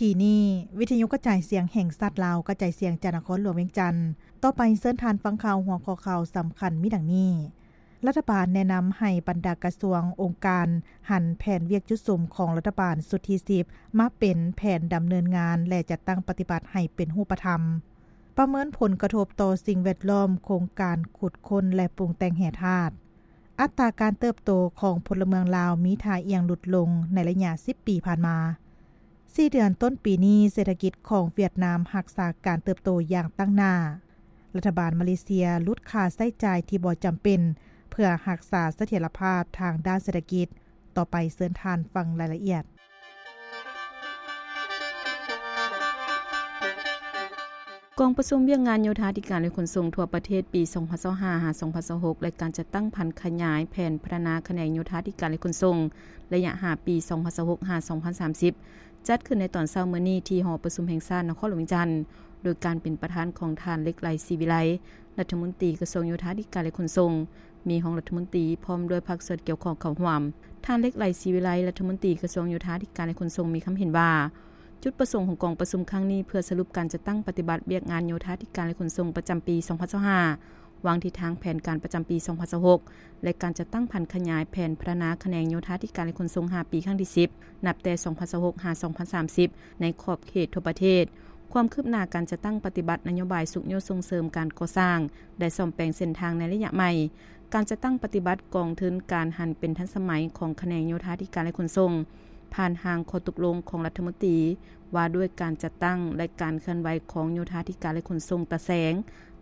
ປີນີ້, ວິທະຍຸກະຈາຍສຽງແຫ່ງຊາດລາວ ກະຈາຍສຽງຈາກນະຄອນຫຼວງວຽງຈັນ. ຕໍ່ໄປເຊີນທ່ານຟັງຂ່າວຫົວຂໍ້ຂ່າວສຳຄັນມີດັ່ງນີ້. ລັດຖະບານແນະນຳໃຫ້ບັນດາກະຊວງ, ອົງການ ຫັນແຜນວຽກຈຸດສຸມຂອງລັດຖະບານຊຸດທີສິບ ມາເປັນແຜນດຳເນີນງານ ແລະ ຈັດຕັ້ງປະຕິບັດໃຫ້ເປັນຮູບປະທຳ. ປະເມີນຜົນກະທົບຕໍ່ສິ່ງແວດລ້ອມໂຄງການຂຸດຄົ້ນ ແລະ ປຸງແຕ່ງແຮ່ທາດ. ອັດຕາການເຕີບໂຕຂອງພົນລະເມືອງລາວມີທ່າອ່ຽງຫຼຸດລົງໃນໄລຍະສິບປີຜ່ານມາ. ສີ່ເດືອນຕົ້ນປີນີ້, ເສດຖະກິດຂອງຫວຽດນາມຮັກສາການເຕີບໂຕຢ່າງຕັ້ງໜ້າ. ລັດຖະບານມາເລເຊຍຫຼຸດຄ່າໃຊ້ຈ່າຍທີ່ບໍ່ຈຳເປັນ ເພື່ອຮັກສາສະຖຽນລະພາບທາງດ້ານເສດຖະກິດ. ຕໍ່ໄປເຊີນທ່ານຟັງລາຍລະອຽດ. ກອງປະຊຸມວຽກງານໂຍທາທິການ ແລະ ຂົນສົ່ງທົ່ວປະເທດປີສອງພັນຊາວຫ້າ ຫາ ສອງພັນຊາວຫົກ ແລະ ການຈັດຕັ້ງຜັນຂະຫຍາຍແຜນພັດທະນາຂະແໜງໂຍທາທິການ ແລະ ຂົນສົ່ງ ໄລຍະຫ້າປີ ສອງພັນຊາວຫົກ ຫາ ສອງພັນສາມສິບ ຈັດຂຶ້ນໃນຕອນເຊົ້າມື້ນີ້ທີ່ຫໍປະຊຸມແຫ່ງຊາດນະຄອນຫຼວງວຽງຈັນ ໂດຍການເປັນປະທານຂອງທ່ານ ເລັກໄລ ສີວິໄລ ລັດຖະມົນຕີກະຊວງໂຍທາທິການ ແລະ ຂົນສົ່ງ, ມີຮອງລັດຖະມົນຕີ ພ້ອມດ້ວຍພາກສ່ວນກ່ຽວຂ້ອງເຂົ້າຮ່ວມ. ທ່ານ ເລັກໄລ ສີວິໄລ ລັດຖະມົນຕີກະຊວງໂຍທາທິການ ແລະ ຂົນສົ່ງ ມີຄຳເຫັນວ່າ ຈຸດປະສົງຂອງກອງປະຊຸມຄັ້ງນີ້ ເພື່ອສະຫຼຸບການຈັດຕັ້ງປະຕິບັດວຽກງານໂຍທາທິການ ແລະ ຂົນສົ່ງປະຈຳປີສອງພັນຊາວຫ້າ, ວາງທິດທາງແຜນການປະຈຳປີສອງພັນຊາວຫົກ ແລະ ການຈັດຕັ້ງຜັນຂະຫຍາຍແຜນພັດທະນາຂະແໜງໂຍທາທິການ ແລະ ຂົນສົ່ງຫ້າປີຄັ້ງທີສິບ ນັບແຕ່ສອງພັນຊາວຫົກ ຫາ ສອງພັນສາມສິບ ໃນຂອບເຂດທົ່ວປະເທດ, ຄວາມຄືບໜ້າການຈັດຕັ້ງປະຕິບັດນະໂຍບາຍຊຸກຍູ້ສົ່ງເສີມການກໍ່ສ້າງ ແລະ ສ້ອມແປງເສັ້ນທາງໃນໄລຍະໃໝ່, ການຈັດຕັ້ງປະຕິບັດກອງທຶນການຫັນເປັນທັນສະໄໝຂອງຂະແໜງໂຍທາທິການ ແລະ ຂົນສົ່ງ, ຜ່ານຮ່າງຂໍ້ຕົກລົງຂອງລັດຖະມົນຕີວ່າດ້ວຍການຈັດຕັ້ງ ແລະ ການເຄື່ອນໄຫວຂອງໂຍທາທິການ ແລະ ຂົນສົ່ງຕາແສງ,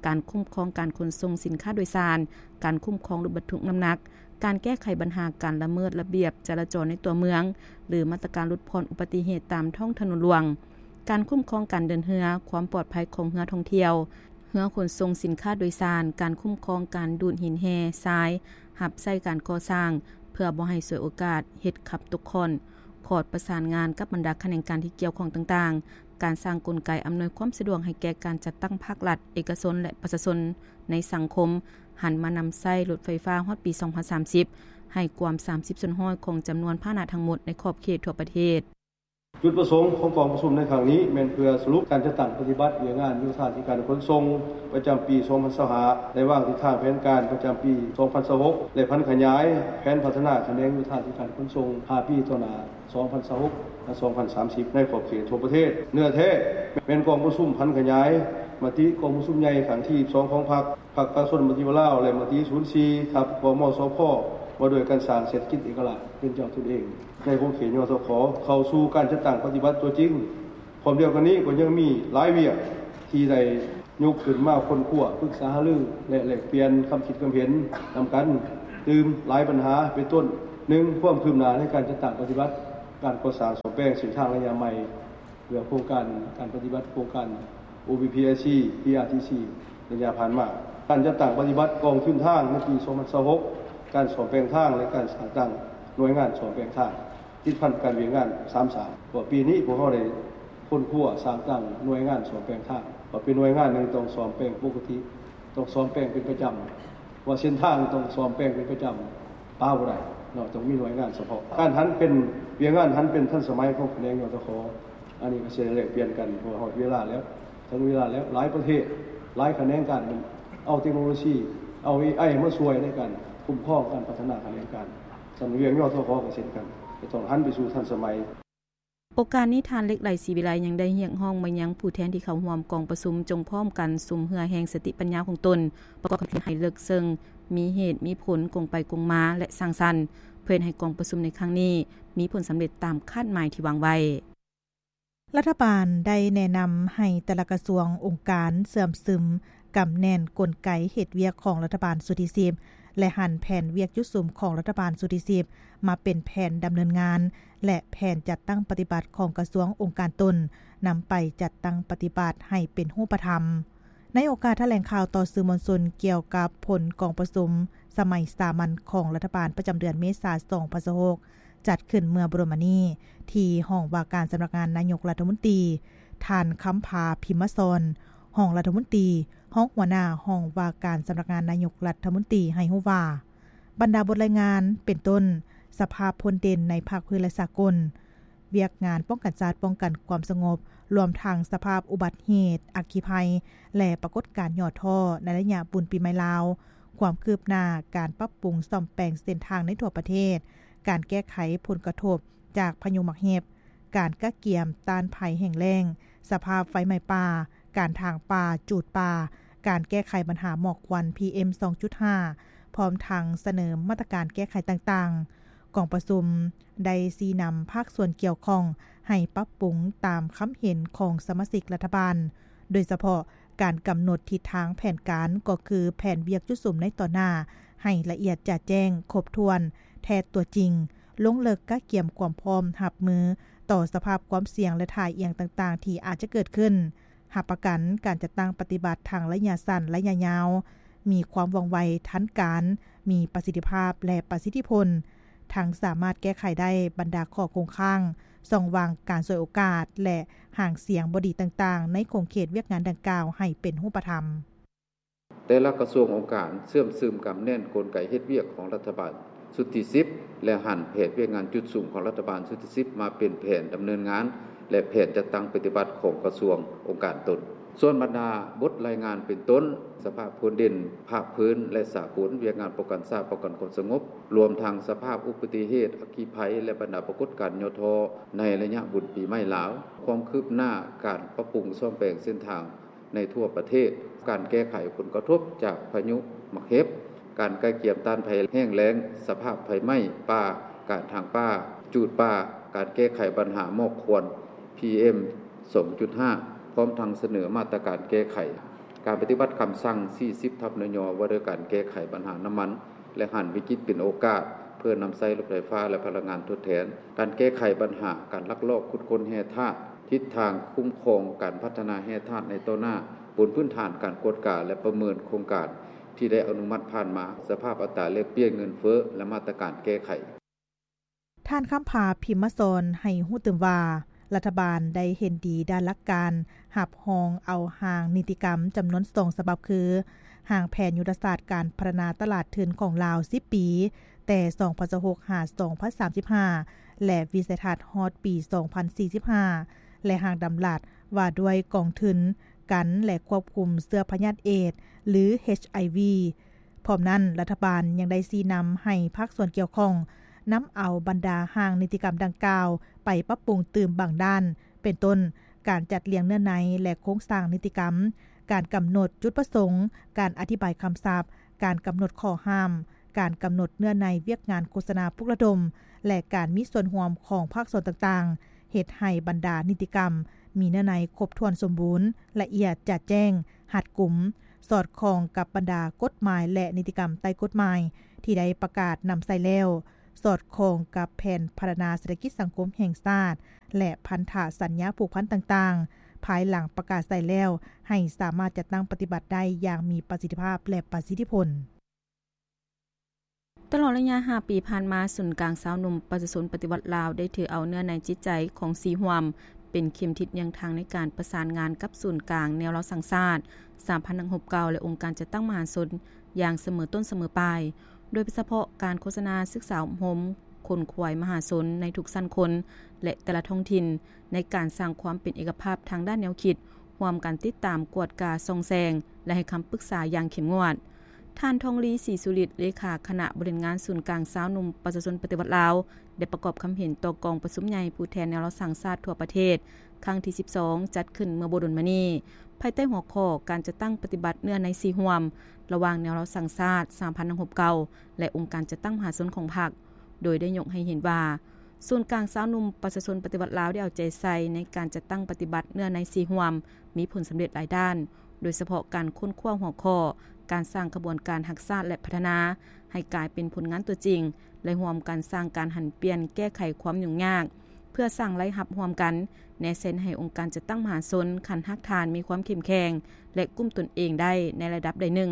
ການຄຸ້ມຄອງການຂົນສົ່ງສິນຄ້າໂດຍສານ, ການຄຸ້ມຄອງລົດບັນທຸກນ້ຳໜັກ, ການແກ້ໄຂບັນຫາການລະເມີດລະບຽບຈະລາຈອນໃນຕົວເມືອງ ຫຼື ມາດຕະການຫຼຸດຜ່ອນອຸບັດຕິເຫດຕາມທ້ອງຖະໜົນຫຼວງ, ການຄຸ້ມຄອງການເດີນເຮືອ, ຄວາມປອດໄພຂອງເຮືອທ່ອງທ່ຽວ, ເຮືອຂົນສົ່ງສິນຄ້າໂດຍສານ, ການຄຸ້ມຄອງການດູດຫີນແຮ່ຊາຍຮັບໃຊ້ການກໍ່ສ້າງ ເພື່ອບໍ່ໃຫ້ສວຍໂອກາດເຮັດຂັບຕົກຂ້ອນ, ຂອດປະສານງານກັບບັນດາຂະແໜງການທີ່ກ່ຽວຂ້ອງຕ່າງໆ, ການສ້າງກົນໄກອຳນວຍຄວາມສະດວກໃຫ້ແກ່ການຈັດຕັ້ງພາກລັດ, ເອກະຊົນ ແລະ ປະຊາຊົນໃນສັງຄົມ, ຫັນມານຳໃຊ້ລົດໄຟຟ້າຮອດປີສອງພັນສາມສິບ ໃຫ້ກວມສາມສິບສ່ວນຮ້ອຍຂອງຈຳນວນພາຫະນະທັງໝົດໃນຂອບເຂດທົ່ວປະເທດ. ຈຸດປະສົງຂອງກອງປະຊຸມໃນຄັ້ງນີ້ ແມ່ນເພື່ອສະຫຼຸບການຈັດຕັ້ງປະຕິບັດວຽກງານໂຍທາທິການຂົນສົ່ງປະຈຳປີສອງພັນຊາວຫ້າ ແລະ ວາງທິດທາງແຜນການປະຈຳປີສອງພັນຊາວຫົກ ແລະ ຜັນຂະຫຍາຍແຜນພັດທະນາຂະແໜງໂຍທາທິການຂົນສົ່ງຫ້າປີຕໍ່ໜ້າ ສອງພັນຊາວຫົກ ຫາ ສອງພັນສາມສິບ ໃນຂອບເຂດທົ່ວປະເທດ. ເນື້ອແທ້ແມ່ນກອງປະຊຸມຜັນຂະຫຍາຍມະຕິກອງປະຊຸມໃຫຍ່ຄັ້ງທີສິບສອງຂອງພັກ ພັກປະຊາຊົນປະຕິວັດລາວ ແລະ ມະຕິສູນສີ່ ທັບ ກມສພ ວ່າດ້ວຍການສ້າງເສດຖະກິດເອກະລາດເປັນເຈົ້າຕົນເອງໃນຂົງເຂດ ຍທຂ ເຂົ້າສູ່ການຈັດຕັ້ງປະຕິບັດຕົວຈິງ. ພ້ອມດຽວກັນນີ້ກໍຍັງມີຫຼາຍວຽກທີ່ໄດ້ຍົກຂຶ້ນມາຄົ້ນຄວ້າ, ປຶກສາຫາລື ແລະ ແລກປ່ຽນຄຳຄິດຄຳເຫັນນຳກັນ, ຕື່ມຫຼາຍບັນຫາ ເປັນຕົ້ນ ໜຶ່ງ ຄວາມຄືບໜ້າໃນການຈັດຕັ້ງປະຕິບັດການກໍ່ສ້າງສ້ອມແປງເສັ້ນທາງໄລຍະໃໝ່ ເພື່ອໂຄງການການປະຕິບັດໂຄງການ ໂອບີພີໄອຊີ ພີອາທີຊີ ໄລຍະຜ່ານມາ, ການຈັດຕັ້ງປະຕິບັດກອງທຶນທາງໃນປີສອງພັນຊາວຫົກ, ການສ້ອມແປງທາງ ແລະ ການສ້າງຕັ້ງໜ່ວຍງານສ້ອມແປງທາງ ຕິດພັນກັບວຽກງານສາມສ້າງ. ເພາະວ່າປີນີ້ພວກເຮົາໄດ້ຄົ້ນຄວ້າສ້າງຕັ້ງໜ່ວຍງານສ້ອມແປງທາງ, ເພາະເປັນໜ່ວຍງານໜຶ່ງຕ້ອງສ້ອມແປງປົກກະຕິ, ຕ້ອງສ້ອມແປງເປັນປະຈຳ, ວ່າເສັ້ນທາງຕ້ອງສ້ອມແປງເປັນປະຈຳ, ປະບໍ່ໄດ້ເນາະ, ຕ້ອງມີໜ່ວຍງານສະເພາະ. ການຫັນເປັນວຽກງານຫັນເປັນທັນສະໄໝຂອງຂະແໜງ ຍທຂ ອັນນີ້ກໍຊິໄດ້ແລກປ່ຽນກັນ ເພາະວ່າຮອດເວລາແລ້ວ, ເຖິງເວລາແລ້ວ, ຫຼາຍປະເທດ, ຫຼາຍຂະແໜງການເອົາເຕັກໂນໂລຊີ, ເອົາເອໄອມາຊ່ວຍໃນການຄຸ້ມຄອງການພັດທະນາຂະແໜງການ. ສຳລັບວຽກ ຍທຂ ກໍເຊັ່ນກັນ, ຈະຕ້ອງຫັນໄປສູ່ທັນສະໄໝ. ໂອກາດນີ້ ທ່ານ ເລັກໄລ ສີວິໄລ ຍັງໄດ້ຮຽກຮ້ອງມາຍັງຜູ້ແທນທີ່ເຂົ້າຮ່ວມກອງປະຊຸມ ຈົ່ງພ້ອມກັນສຸມເຫື່ອແຮງສະຕິປັນຍາຂອງຕົນ ປະກອບຄຳຄິດໃຫ້ເລິກເຊິ່ງ, ມີເຫດມີຜົນ, ກົງໄປກົງມາ ແລະ ສ້າງສັນ, ເພື່ອເຮັດໃຫ້ກອງປະຊຸມໃນຄັ້ງນີ້ມີຜົນສຳເລັດຕາມຄາດໝາຍທີ່ວາງໄວ້. ລັດຖະບານໄດ້ແນະນຳໃຫ້ແຕ່ລະກະຊວງ, ອົງການເຊື່ອມຊຶມ, ກຳແໜ້ນກົນໄກເຮັດວຽກຂອງລັດຖະບານຊຸດທີສິບ ແລະ ຫັນແຜນວຽກຈຸດສຸມຂອງລັດຖະບານຊຸດທີສິບ ມາເປັນແຜນດຳເນີນງານ ແລະ ແຜນຈັດຕັ້ງປະຕິບັດຂອງກະຊວງ, ອົງການຕົນ ນຳໄປຈັດຕັ້ງປະຕິບັດໃຫ້ເປັນຮູບປະທຳ. ໃນໂອກາດຖະແຫຼງຂ່າວຕໍ່ສື່ມວນຊົນກ່ຽວກັບຜົນກອງປະຊຸມສະໄໝສາມັນຂອງລັດຖະບານປະຈຳເດືອນເມສາ ສອງພັນຊາວຫົກ ຈັດຂຶ້ນເມື່ອບໍ່ດົນມານີ້ ທີ່ຫ້ອງວ່າການສຳນັກງານນາຍົກລັດຖະມົນຕີ, ທ່ານ ຄຳພາ ພິມມະສອນ ຮອງລັດຖະມົນຕີ, ຮອງຫົວໜ້າຫ້ອງວ່າການສຳນັກງານນາຍົກລັດຖະມົນຕີ ໃຫ້ຮູ້ວ່າ ບັນດາບົດລາຍງານ ເປັນຕົ້ນ ສະພາບພົ້ນເດັ່ນໃນພາກພື້ນ ແລະ ສາກົນ, ວຽກງານປ້ອງກັນຊາດ, ປ້ອງກັນຄວາມສະຫງົບ, ລວມທັງສະພາບອຸບັດເຫດ, ອັກຄີໄພ ແລະ ປາກົດການຫຍໍ້ທໍ້ໃນໄລຍະບຸນປີໃໝ່ລາວ, ຄວາມຄືບໜ້າການປັບປຸງສ້ອມແປງເສັ້ນທາງໃນທົ່ວປະເທດ, ການແກ້ໄຂຜົນກະທົບຈາກພາຍຸໝາກເຫັບ, ການກະກຽມຕ້ານໄພແຫ້ງແລ້ງ, ສະພາບໄຟໄໝ້ປ່າ, ການຖາງປ່າ, ຈູດປ່າ, ການແກ້ໄຂບັນຫາໝອກຄວັນ ພີເອັມ ສອງຈຸດຫ້າ ພ້ອມທັງສະເໜີມາດຕະການແກ້ໄຂຕ່າງໆ. ກອງປະຊຸມໄດ້ຊີ້ນຳພາກສ່ວນກ່ຽວຂ້ອງໃຫ້ປັບປຸງຕາມຄຳເຫັນຂອງສະມາຊິກລັດຖະບານ, ໂດຍສະເພາະການກຳນົດທິດທາງແຜນການ, ກໍຄືແຜນວຽກຈຸດສຸມໃນຕໍ່ໜ້າ ໃຫ້ລະອຽດຈະແຈ້ງ, ຄົບຖ້ວນ, ແທດຕົວຈິງ, ລົງເລິກກະກຽມຄວາມພ້ອມຮັບມືຕໍ່ສະພາບຄວາມສ່ຽງ ແລະ ທ່າອ່ຽງຕ່າງໆທີ່ອາດຈະເກີດຂຶ້ນ. ຮັບປະກັນການຈັດຕັ້ງປະຕິບັດທັງໄລຍະສັ້ນ, ໄລຍະຍາວ, ມີຄວາມວ່ອງໄວ, ທັນການ, ມີປະສິດທິພາບ ແລະ ປະສິດທິຜົນ, ທັງສາມາດແກ້ໄຂໄດ້ບັນດາຂໍ້ຄົງຄ້າງ, ຊ່ອງວ່າງການສວຍໂອກາດ ແລະ ຫາງສຽງບໍ່ດີຕ່າງໆ ໃນຂົງເຂດວຽກງານດັ່ງກ່າວໃຫ້ເປັນຮູບປະທຳ. ແຕ່ລະກະຊວງອົງການເຊື່ອມຊຶມກຳແໜ້ນກົນໄກເຮັດວຽກຂອງລັດຖະບານຊຸດທີສິບ ແລະ ຫັນແຜນວຽກງານຈຸດສຸມຂອງລັດຖະບານຊຸດທີສິບ ມາເປັນແຜນດຳເນີນງານ ແລະ ແຜນຈັດຕັ້ງປະຕິບັດຂອງກະຊວງອົງການຕົນ. ສ່ວນບັນດາບົດລາຍງານເປັນຕົ້ນ ສະພາບພົ້ນເດັ່ນພາກພື້ນ ແລະ ສາກົນ, ວຽກງານປ້ອງກັນຊາດ, ປ້ອງກັນຄວາມສະຫງົບ, ລວມທັງສະພາບອຸບັດຕິເຫດ, ອັກຄີໄພ ແລະ ບັນດາປາກົດການຫຍໍ້ທໍ້ໃນໄລຍະບຸນປີໃໝ່ລາວ, ຄວາມຄືບໜ້າການປັບປຸງສ້ອມແປງເສັ້ນທາງ ໃນທົ່ວປະເທດ, ການແກ້ໄຂຜົນກະທົບຈາກພາຍຸໝາກເຫັບ, ການກະກຽມຕ້ານໄພແຫ້ງແລ້ງ, ສະພາບໄຟໄໝ້ປ່າ, ການຖາງປ່າ, ຈູດປ່າ, ການແກ້ໄຂບັນຫາໝອກຄວັນ ພີເອັມ ສອງຈຸດຫ້າ ພ້ອມທັງສະເໜີມາດຕະການແກ້ໄຂ, ການປະຕິບັດຄຳສັ່ງ ສີ່ສິບ ທັບ ນຍ ວ່າດ້ວຍການແກ້ໄຂບັນຫານ້ຳມັນ ແລະ ຫັນວິກິດເປັນໂອກາດ ເພື່ອນຳໃຊ້ລົດໄຟຟ້າ ແລະ ພະລັງງານທົດແທນ, ການແກ້ໄຂບັນຫາການລັກລອບຂຸດຄົ້ນແຮ່ທາດ, ທິດທາງຄຸ້ມຄອງການພັດທະນາແຮ່ທາດໃນຕໍ່ໜ້າ, ບົນພື້ນຖານການກວດກາ ແລະ ປະເມີນໂຄງການທີ່ໄດ້ອະນຸມັດຜ່ານມາ, ສະພາບອັດຕາແລກປ່ຽນເງິນເຟີ້ ແລະ ມາດຕະການແກ້ໄຂ. ທ່ານ ຄຳພາ ພິມມະສອນ ໃຫ້ຮູ້ຕື່ມວ່າ ລັດຖະບານໄດ້ເຫັນດີດ້ານຫຼັກການຮັບຮອງເອົາຮ່າງນິຕິກຳຈຳນວນສອງສະບັບ ຄື ຮ່າງແຜນຍຸດທະສາດການພັດທະນາຕະຫຼາດທຶນຂອງລາວ ສິບປີ ແຕ່ ສອງພັນຊາວຫົກ ຫາ ສອງພັນສາມສິບຫ້າ ແລະ ວິໄສທັດຮອດປີ ສອງພັນສີ່ສິບຫ້າ ແລະ ຮ່າງດຳລັດວ່າດ້ວຍກອງທຶນກັນ ແລະ ຄວບຄຸມເຊື້ອພະຍາດເອດ ຫຼື ເອັດຊ໌ໄອວີ. ພ້ອມນັ້ນ, ລັດຖະບານຍັງໄດ້ຊີ້ນຳໃຫ້ພາກສ່ວນກ່ຽວຂ້ອງ ນຳເອົາບັນດາຮ່າງນິຕິກຳດັ່ງກ່າວໄປປັບປຸງຕື່ມບາງດ້ານ, ເປັນຕົ້ນ ການຈັດລຽງເນື້ອໃນ ແລະ ໂຄງສ້າງນິຕິກຳ, ການກຳນົດຈຸດປະສົງ, ການອະທິບາຍຄຳສັບ, ການກຳນົດຂໍ້ຫ້າມ, ການກຳນົດເນື້ອໃນວຽກງານໂຄສະນາປຸກລະດົມ ແລະ ການມີສ່ວນຮ່ວມຂອງພາກສ່ວນຕ່າງໆ, ເຮັດໃຫ້ບັນດານິຕິກຳມີເນື້ອໃນຄົບຖ້ວນສົມບູນ, ລະອຽດຈະແຈ້ງ, ຮັດກຸມ, ສອດຄ່ອງກັບບັນດາກົດໝາຍ ແລະ ນິຕິກຳໃຕ້ກົດໝາຍທີ່ໄດ້ປະກາດນຳໃຊ້ແລ້ວ, ສອດຄ່ອງກັບແຜນພັດທະນາເສດຖະກິດສັງຄົມແຫ່ງຊາດ ແລະ ພັນທະສັນຍາຜູກພັນຕ່າງໆ ພາຍຫຼັງປະກາດໃຊ້ແລ້ວ ໃຫ້ສາມາດຈັດຕັ້ງປະຕິບັດໄດ້ຢ່າງມີປະສິດທິພາບ ແລະ ປະສິດທິຜົນ. ຕະຫຼອດໄລຍະຫ້າປີຜ່ານມາ, ສູນກາງຊາວໜຸ່ມປະຊາຊົນປະຕິວັດລາວ ໄດ້ຖືເອົາເນື້ອໃນຈິດໃຈຂອງສີ່ຮ່ວມ ເປັນເຂັມທິດຍ່າງທາງໃນການປະສານງານກັບສູນກາງແນວລາວສ້າງຊາດ ສາມພັນຫ້າຮ້ອຍຫົກ ແລະ ອົງການຈັດຕັ້ງມະຫາຊົນຢ່າງສະເໝີຕົ້ນສະເໝີປາຍ, ໂດຍສະເພາະການໂຄສະນາ, ສຶກສາອົບຮົມ, ຂົນຂວາຍມະຫາຊົນໃນທຸກຊັ້ນຄົນ ແລະ ແຕ່ລະທ້ອງຖິ່ນ ໃນການສ້າງຄວາມເປັນເອກະພາບທາງດ້ານແນວຄິດ, ຮ່ວມກັນຕິດຕາມ, ກວດກາ, ສ່ອງແສງ ແລະ ໃຫ້ຄຳປຶກສາຢ່າງເຂັ້ມງວດ. ທ່ານ ທອງລີ ສີສຸລິດ ເລຂາຄະນະບໍລິຫານງານສູນກາງຊາວໜຸ່ມປະຊາຊົນປະຕິວັດລາວ ໄດ້ປະກອບຄຳເຫັນຕໍ່ກອງປະຊຸມໃຫຍ່ຜູ້ແທນແນວລາວສ້າງຊາດທົ່ວປະເທດ ຄັ້ງທີສິບສອງ ຈັດຂຶ້ນເມື່ອບໍ່ດົນມານີ້ ພາຍໃຕ້ຫົວຂໍ້ການຈັດຕັ້ງປະຕິບັດເນື້ອໃນສີ່ຮ່ວມ ລະຫວ່າງແນວລາວສ້າງຊາດ ສາມພັນຫ້າຮ້ອຍຫົກ ແລະ ອົງການຈັດຕັ້ງມະຫາຊົນຂອງພັກ ໂດຍໄດ້ຍົກໃຫ້ເຫັນວ່າ ສູນກາງຊາວໜຸ່ມປະຊາຊົນປະຕິວັດລາວ ໄດ້ເອົາໃຈໃສ່ໃນການຈັດຕັ້ງປະຕິບັດເນື້ອໃນສີ່ຮ່ວມ ມີຜົນສຳເລັດຫຼາຍດ້ານ, ໂດຍສະເພາະການຄົ້ນຄວ້າຫົວຂໍ້ ການສ້າງຂະບວນການຮັກຊາດ ແລະ ພັດທະນາ ໃຫ້ກາຍເປັນຜົນງານຕົວຈິງ ແລະ ຮ່ວມກັນສ້າງການຫັນປ່ຽນແກ້ໄຂຄວາມຫຍຸ້ງຍາກ ເພື່ອສ້າງລາຍຮັບຮ່ວມກັນ, ແນເຊັນໃຫ້ອົງການຈັດຕັ້ງມະຫາຊົນຂັ້ນຮາກຖານມີຄວາມເຂັ້ມແຂງ ແລະ ກຸ້ມຕົນເອງໄດ້ໃນລະດັບໃດໜຶ່ງ.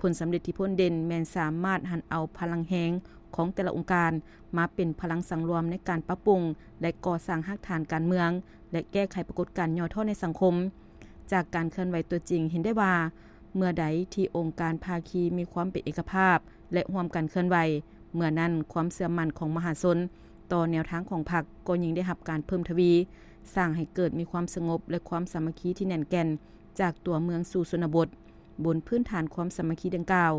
ຜົນສຳເລັດທີ່ພົ້ນເດັ່ນແມ່ນສາມາດຫັນເອົາພະລັງແຮງຂອງແຕ່ລະອົງການມາເປັນພະລັງສັງລວມໃນການປັບປຸງ ແລະ ກໍ່ສ້າງຮາກຖານການເມືອງ ແລະ ແກ້ໄຂປາກົດການຫຍໍ້ທໍ້ໃນສັງຄົມ. ຈາກການເຄື່ອນໄຫວຕົວຈິງເຫັນໄດ້ວ່າ ເມື່ອໃດທີ່ອົງການພາຄີມີຄວາມເປັນເອກະພາບ ແລະ ຮ່ວມກັນເຄື່ອນໄຫວ, ເມື່ອນັ້ນຄວາມເຊື່ອໝັ້ນຂອງມະຫາຊົນ ຕໍ່ແນວທາງຂອງພັກ ກໍຍິ່ງໄດ້ຮັບການເພີ່ມທະວີ, ສ້າງໃຫ້ເກີດມີຄວາມສະຫງົບ ແລະ ຄວາມສາມັກຄີທີ່ແໜ້ນແກ່ນ ຈາກຕົວເມືອງສູ່ຊົນນະບົດ. ບົນພື້ນຖານຄວາມສາມັກຄີດັ່ງກ່າວ,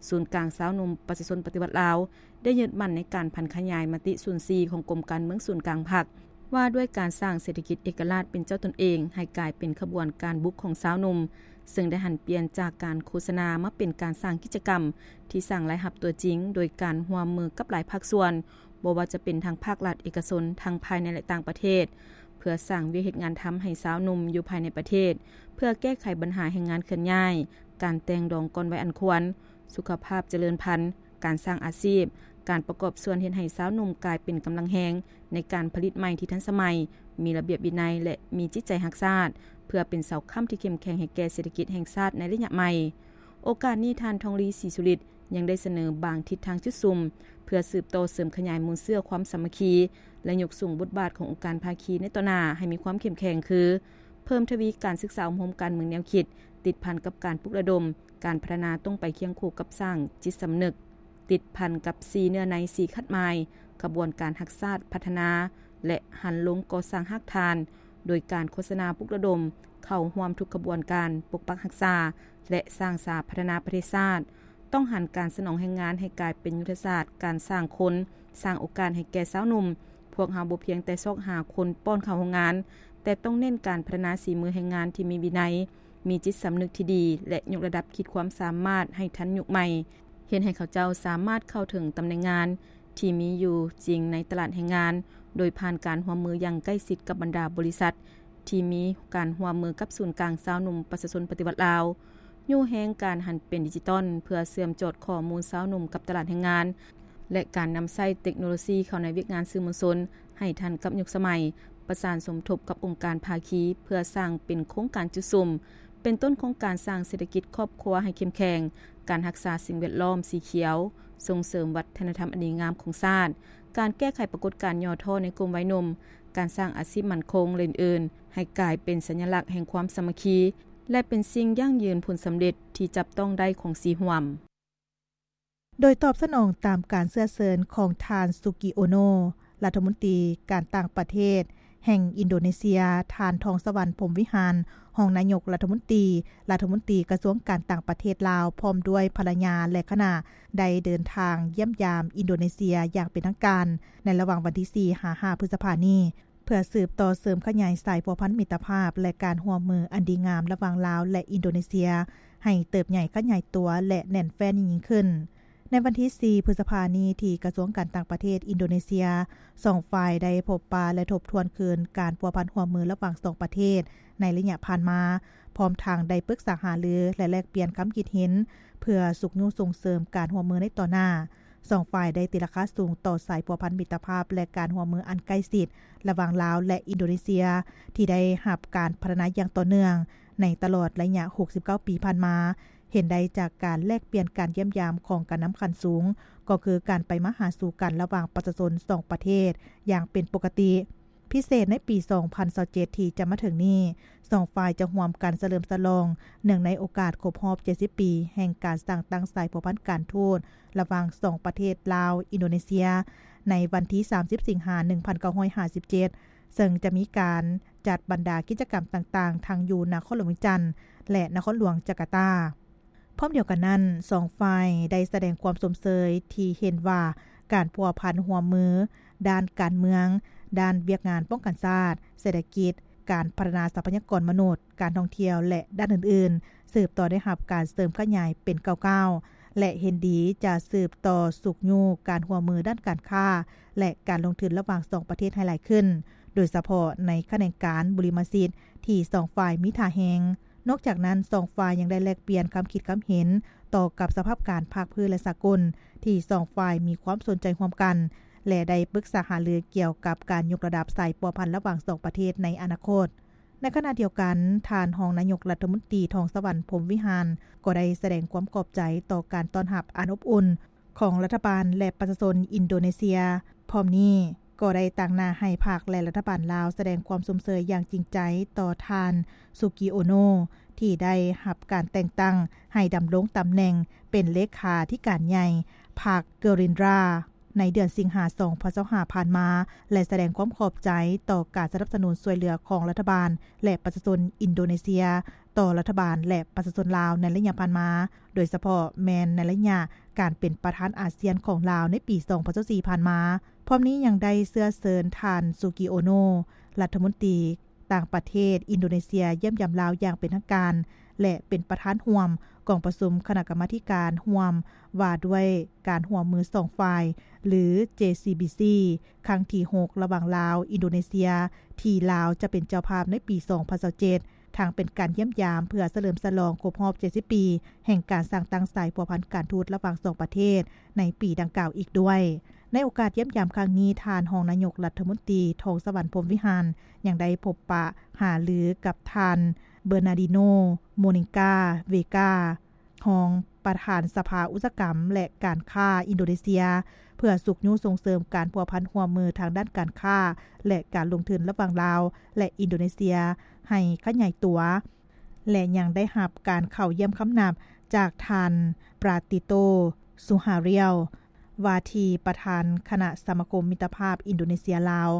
ສູນກາງຊາວໜຸ່ມປະຊາຊົນປະຕິວັດລາວ ໄດ້ຍຶດໝັ້ນໃນການຜັນຂະຫຍາຍມະຕິສູນສີ່ຂອງກົມການເມືອງສູນກາງພັກ ວ່າດ້ວຍການສ້າງເສດຖະກິດເອກະລາດເປັນເຈົ້າຕົນເອງໃຫ້ກາຍເປັນຂະບວນການບຸກຂອງຊາວໜຸ່ມ, ເຊິ່ງໄດ້ຫັນປ່ຽນຈາກການໂຄສະນາມາເປັນການສ້າງກິດຈະກຳທີ່ສ້າງລາຍຮັບຕົວຈິງ ໂດຍການຮ່ວມມືກັບຫຼາຍພາກສ່ວນ, ບໍ່ວ່າຈະເປັນທັງພາກລັດ, ເອກະຊົນ, ທັງພາຍໃນ ແລະ ຕ່າງປະເທດ, ເພື່ອສ້າງວຽກເຮັດງານທຳໃຫ້ຊາວໜຸ່ມຢູ່ພາຍໃນປະເທດ, ເພື່ອແກ້ໄຂບັນຫາແຮງງານເຄື່ອນຍ້າຍ, ການແຕ່ງດອງກ່ອນໄວອັນຄວນ, ສຸຂະພາບຈະເລີນພັນ, ການສ້າງອາຊີບ, ການປະກອບສ່ວນເຮັດໃຫ້ຊາວໜຸ່ມກາຍເປັນກຳລັງແຮງໃນການຜະລິດໃໝ່ທີ່ທັນສະໄໝ, ມີລະບຽບວິໄນ ແລະ ມີຈິດໃຈຮັກຊາດ, ເພື່ອເປັນເສົາຄ້ຳທີ່ເຂັ້ມແຂງໃຫ້ແກ່ເສດຖະກິດແຫ່ງຊາດໃນໄລຍະໃໝ່. ໂອກາດນີ້, ທ່ານ ທອງລີ ສີສຸລິດ ຍັງໄດ້ສະເໜີບາງທິດທາງຈຸດສຸມ ເພື່ອສືບຕໍ່ເສີມຂະຫຍາຍມູນເຊື້ອຄວາມສາມັກຄີ ແລະ ຍົກສູງບົດບາດຂອງອົງການພາຄີໃນຕໍ່ໜ້າໃຫ້ມີຄວາມເຂັ້ມແຂງ ຄື ເພີ່ມທະວີການສຶກສາອົບຮົມການເມືອງແນວຄິດ ຕິດພັນກັບການປຸກລະດົມ ການພັດທະນາຕ້ອງໄປຄຽງຄູ່ກັບສ້າງຈິດສຳນຶກ ຕິດພັນກັບສີ່ເນື້ອໃນ ສີ່ຂັດໝາຍ ຂະບວນການຮັກຊາດພັດທະນາ ແລະ ຫັນລົງກໍ່ສ້າງຮາກຖານ ໂດຍການໂຄສະນາປຸກລະດົມເຂົ້າຮ່ວມທຸກຂະບວນການປົກປັກຮັກສາ ແລະ ສ້າງສາພັດທະນາປະເທດຊາດ. ຕ້ອງຫັນການສະໜອງແຮງງານໃຫ້ກາຍເປັນຍຸດທະສາດການສ້າງຄົນ, ສ້າງໂອກາດໃຫ້ແກ່ຊາວໜຸ່ມ. ພວກເຮົາບໍ່ພຽງແຕ່ຊອກຫາຄົນປ້ອນເຂົ້າໂຮງງານ, ແຕ່ຕ້ອງເນັ້ນການພັດທະນາສີມືແຮງງານທີ່ມີວິໄນ, ມີຈິດສຳນຶກທີ່ດີ ແລະ ຍົກລະດັບຂີດຄວາມສາມາດໃຫ້ທັນຍຸກໃໝ່, ເຮັດໃຫ້ເຂົາເຈົ້າສາມາດເຂົ້າເຖິງຕຳແໜ່ງງານທີ່ມີຢູ່ຈິງໃນຕະຫຼາດແຮງງານ, ໂດຍຜ່ານການຮ່ວມມືຢ່າງໃກ້ຊິດກັບບັນດາບໍລິສັດ ທີ່ມີການຮ່ວມມືກັບສູນກາງຊາວໜຸ່ມປະຊາຊົນປະຕິວັດລາວ, ຍູ້ແຮງການຫັນເປັນດິຈິຕອນ ເພື່ອເຊື່ອມຈອດຂໍ້ມູນຊາວໜຸ່ມກັບຕະຫຼາດແຮງງານ ແລະ ການນຳໃຊ້ເຕັກໂນໂລຊີເຂົ້າໃນວຽກງານສື່ມວນຊົນໃຫ້ທັນກັບຍຸກສະໄໝ, ປະສານສົມທົບກັບອົງການພາຄີ ເພື່ອສ້າງເປັນໂຄງການຈຸດສຸມ ເປັນຕົ້ນໂຄງການສ້າງເສດຖະກິດຄອບຄົວໃຫ້ເຂັ້ມແຂງ, ການຮັກສາສິ່ງແວດລ້ອມສີຂຽວ, ສົ່ງເສີມວັດທະນະທຳອັນດີງາມຂອງຊາດ, ການແກ້ໄຂປາກົດການຫຍໍ້ທໍ້ໃນກຸ່ມໄວໜຸ່ມ, ການສ້າງອາຊີບໝັ້ນຄົງ ແລະ ອື່ນໆ ໃຫ້ກາຍເປັນສັນຍະລັກແຫ່ງຄວາມສາມັກຄີ ແລະ ເປັນສິ່ງຢັ້ງຢືນຜົນສຳເລັດທີ່ຈັບຕ້ອງໄດ້ຂອງສີ່ຮ່ວມ. ໂດຍຕອບສະໜອງຕາມການເຊື້ອເຊີນຂອງທ່ານ ສຸກິ ໂອໂນ ລັດຖະມົນຕີການຕ່າງປະເທດແຫ່ງອິນໂດເນເຊຍ, ທ່ານ ທອງສະຫວັນ ພົມວິຫານ ຮອງນາຍົກລັດຖະມົນຕີ, ລັດຖະມົນຕີກະຊວງການຕ່າງປະເທດລາວ ພ້ອມດ້ວຍພັນລະຍາ ແລະ ຄະນະ ໄດ້ເດີນທາງຢ້ຽມຢາມອິນໂດເນເຊຍຢ່າງເປັນທາງການ ໃນລະຫວ່າງວັນທີສີ່ ຫາ ຫ້າ ພຶດສະພານີ້. ເພື່ອສືບຕໍ່ເສີມຂະຫຍາຍສາຍພົວພັນມິດຕະພາບ ແລະ ການຮ່ວມມືອັນດີງາມລະຫວ່າງລາວ ແລະ ອິນໂດເນເຊຍ ໃຫ້ເຕີບໃຫຍ່ຂະຫຍາຍຕົວ ແລະ ແໜ້ນແຟ້ນຍິ່ງໆຂຶ້ນ. ໃນວັນທີສີ່ ພຶດສະພານີ້ ທີ່ກະຊວງການຕ່າງປະເທດອິນໂດເນເຊຍ, ສອງຝ່າຍໄດ້ພົບປະ ແລະ ທົບທວນຄືນການພົວພັນຮ່ວມມືລະຫວ່າງສອງປະເທດໃນໄລຍະຜ່ານມາ, ພ້ອມທັງໄດ້ປຶກສາຫາລື ແລະ ແລກປ່ຽນຄຳຄິດເຫັນ ເພື່ອຊຸກຍູ້ສົ່ງເສີມການຮ່ວມມືໃນຕໍ່ໜ້າ. ສອງຝ່າຍໄດ້ຕີລາຄາສູງຕໍ່ສາຍພົວພັນມິດຕະພາບ ແລະ ການຮ່ວມມືອັນໃກ້ຊິດລະຫວ່າງລາວ ແລະ ອິນໂດເນເຊຍ ທີ່ໄດ້ຮັບການພັດທະນາຢ່າງຕໍ່ເນື່ອງໃນຕະຫຼອດໄລຍະຫົກສິບເກົ້າປີຜ່ານມາ. ເຫັນໄດ້ຈາກການແລກປ່ຽນການຢ້ຽມຢາມຂອງການນຳຂັ້ນສູງ, ກໍຄືການໄປມາຫາສູ່ກັນລະຫວ່າງປະຊາຊົນສອງປະເທດຢ່າງເປັນປົກກະຕິ. ພິເສດໃນປີສອງພັນຊາວເຈັດ ທີ່ຈະມາເຖິງນີ້, ສອງຝ່າຍຈະຮ່ວມກັນສະເຫຼີມສະຫຼອງເນື່ອງໃນໂອກາດຄົບຮອບເຈັດສິບປີແຫ່ງການສ້າງຕັ້ງສາຍພົວພັນການທູດລະຫວ່າງສອງປະເທດລາວ-ອິນໂດເນເຊຍ ໃນວັນທີສາມສິບ ສິງຫາ ໜຶ່ງພັນເກົ້າຮ້ອຍຫ້າສິບເຈັດ ເຊິ່ງຈະມີການຈັດບັນດາກິດຈະກຳຕ່າງໆ ທັງຢູ່ນະຄອນຫຼວງວຽງຈັນ ແລະ ນະຄອນຫຼວງຈາກາຕາ. ພ້ອມດຽວກັນນັ້ນ, ສອງຝ່າຍໄດ້ສະແດງຄວາມຊົມເຊີຍທີ່ເຫັນວ່າການພົວພັນຮ່ວມມືດ້ານການເມືອງ, ດ້ານວຽກງານປ້ອງກັນຊາດ, ເສດຖະກິດ, ການພັດທະນາຊັບພະຍາກອນມະນຸດ, ການທ່ອງທ່ຽວ ແລະ ດ້ານອື່ນໆ ສືບຕໍ່ໄດ້ຮັບການເສີມຂະຫຍາຍເປັນກ້າວໆ ແລະ ເຫັນດີຈະສືບຕໍ່ຊຸກຍູ້ການຮ່ວມມືດ້ານການຄ້າ ແລະ ການລົງທຶນລະຫວ່າງສອງປະເທດໃຫ້ຫຼາຍຂຶ້ນ, ໂດຍສະເພາະໃນຂະແໜງການບຸລິມະສິດທີ່ສອງຝ່າຍມີທ່າແຮງ. ນອກຈາກນັ້ນ, ສອງຝ່າຍຍັງໄດ້ແລກປ່ຽນຄຳຄິດຄຳເຫັນຕໍ່ກັບສະພາບການພາກພື້ນ ແລະ ສາກົນ ທີ່ສອງຝ່າຍມີຄວາມສົນໃຈຮ່ວມກັນ ແລະ ໄດ້ປຶກສາຫາລືກ່ຽວກັບການຍົກລະດັບສາຍພົວພັນລະຫວ່າງສອງປະເທດໃນອະນາຄົດ. ໃນຂະນະດຽວກັນ, ທ່ານຮອງນາຍົກລັດຖະມົນຕີ ທອງສະຫວັນ ພົມວິຫານ ກໍໄດ້ສະແດງຄວາມຂອບໃຈຕໍ່ການຕ້ອນຮັບອັນອົບອຸ່ນຂອງລັດຖະບານ ແລະ ປະຊາຊົນອິນໂດເນເຊຍ. ພ້ອມນີ້, ກໍໄດ້ຕາງໜ້າໃຫ້ພັກ ແລະ ລັດຖະບານລາວສະແດງຄວາມຊົມເຊີຍຢ່າງຈິງໃຈຕໍ່ທ່ານ ສຸກິ ໂອໂນ ທີ່ໄດ້ຮັບການແຕ່ງຕັ້ງໃຫ້ດຳລົງຕຳແໜ່ງເປັນເລຂາທິການໃຫຍ່ພັກ Gerindra. ໃນເດືອນສິງຫາ ສອງພັນຊາວຫ້າ ຜ່ານມາ ແລະ ສະແດງຄວາມຂອບໃຈຕໍ່ການສະໜັບສະໜູນຊ່ວຍເຫຼືອຂອງລັດຖະບານ ແລະ ປະຊາຊົນອິນໂດເນເຊຍ ຕໍ່ລັດຖະບານ ແລະ ປະຊາຊົນລາວໃນໄລຍະຜ່ານມາ, ໂດຍສະເພາະແມ່ນໃນໄລຍະການເປັນປະທານອາຊຽນຂອງລາວໃນປີ ສອງພັນຊາວສີ່ ຜ່ານມາ. ພ້ອມນີ້ຍັງໄດ້ເຊື້ອເຊີນທ່ານ ຊູກິ ໂອໂນ ລັດຖະມົນຕີ ຕ່າງປະເທດອິນໂດເນເຊຍຢ້ຽມຢາມລາວຢ່າງເປັນທາງການ ແລະ ເປັນປະທານຮ່ວມກອງປະຊຸມຄະນະກຳມາທິການຮ່ວມວ່າດ້ວຍການຮ່ວມມືສອງຝ່າຍ ຫຼື ເຈ ຊີ ບີ ຊີ ຄັ້ງທີຫົກ ລະຫວ່າງລາວ-ອິນໂດເນເຊຍ ທີ່ລາວຈະເປັນເຈົ້າພາບໃນປີ ສອງພັນຊາວເຈັດ ທັງເປັນການຢ້ຽມຢາມເພື່ອສະເຫຼີມສະຫຼອງຄົບຮອບ ເຈັດສິບ ປີ ແຫ່ງການສ້າງຕັ້ງສາຍພົວພັນການທູດລະຫວ່າງສອງປະເທດໃນປີດັ່ງກ່າວອີກດ້ວຍ. ໃນໂອກາດຢ້ຽມຢາມຄັ້ງນີ້, ທ່ານຮອງນາຍົກລັດຖະມົນຕີ ທອງສະຫວັນ ພົມວິຫານ ຍັງໄດ້ພົບປະຫາລືກັບທ່ານ ເບີນາດີໂນ ໂມນິງກາ ເວກາ ຮອງປະທານສະພາອຸດສາຫະກຳ ແລະ ການຄ້າອິນໂດເນເຊຍ ເພື່ອຊຸກຍູ້ສົ່ງເສີມການພົວພັນຮ່ວມມືທາງດ້ານການຄ້າ ແລະ ການລົງທຶນລະຫວ່າງລາວ ແລະ ອິນໂດເນເຊຍໃຫ້ຂະຫຍາຍຕົວ ແລະ ຍັງໄດ້ຮັບການເຂົ້າຢ້ຽມຄຳນັບຈາກທ່ານ ປາຕິໂຕ ສຸຫາຣຽວ ວ່າທີ່ປະທານຄະນະສະມາຄົມມິດຕະພາບອິນໂດເນເຊຍ-ລາວ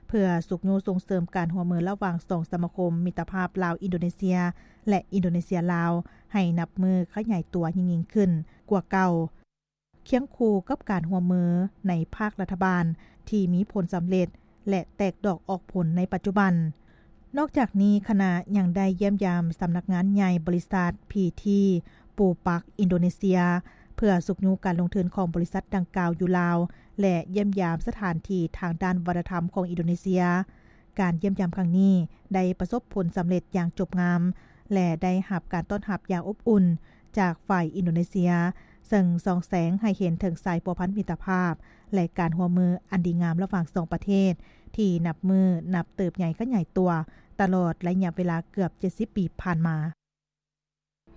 ເພື່ອຊຸກຍູ້ສົ່ງເສີມການຮ່ວມມືລະຫວ່າງສອງສະມາຄົມມິດຕະພາບລາວ-ອິນໂດເນເຊຍ ແລະ ອິນໂດເນເຊຍ-ລາວ ໃຫ້ນັບມື້ຂະຫຍາຍຕົວຍິ່ງໆຂຶ້ນກວ່າເກົ່າ, ຄຽງຄູ່ກັບການຮ່ວມມືໃນພາກລັດຖະບານທີ່ມີຜົນສຳເລັດ ແລະ ແຕກດອກອອກຜົນໃນປັດຈຸບັນ. ນອກຈາກນີ້, ຄະນະຍັງໄດ້ຢ້ຽມຢາມສຳນັກງານໃຫຍ່ບໍລິສັດ ພີທີ ປູປັກ ອິນໂດເນເຊຍ ເພື່ອຊຸກຍູ້ການລົງທຶນຂອງບໍລິສັດດັ່ງກ່າວຢູ່ລາວ ແລະ ຢ້ຽມຢາມສະຖານທີ່ທາງດ້ານວັດທະນະທຳຂອງອິນໂດເນເຊຍ. ການຢ້ຽມຢາມຄັ້ງນີ້ໄດ້ປະສົບຜົນສຳເລັດຢ່າງຈົບງາມ ແລະ ໄດ້ຮັບການຕ້ອນຮັບຢ່າງອົບອຸ່ນຈາກຝ່າຍອິນໂດເນເຊຍ, ເຊິ່ງສ່ອງແສງໃຫ້ເຫັນເຖິງສາຍພົວພັນມິດຕະພາບ ແລະ ການຮ່ວມມືອັນດີງາມລະຫວ່າງສອງປະເທດ ທີ່ນັບມື້ນັບເຕີບໃຫຍ່ຂະຫຍາຍຕົວຕະຫຼອດໄລຍະເວລາເກືອບ ເຈັດສິບ ປີຜ່ານມາ.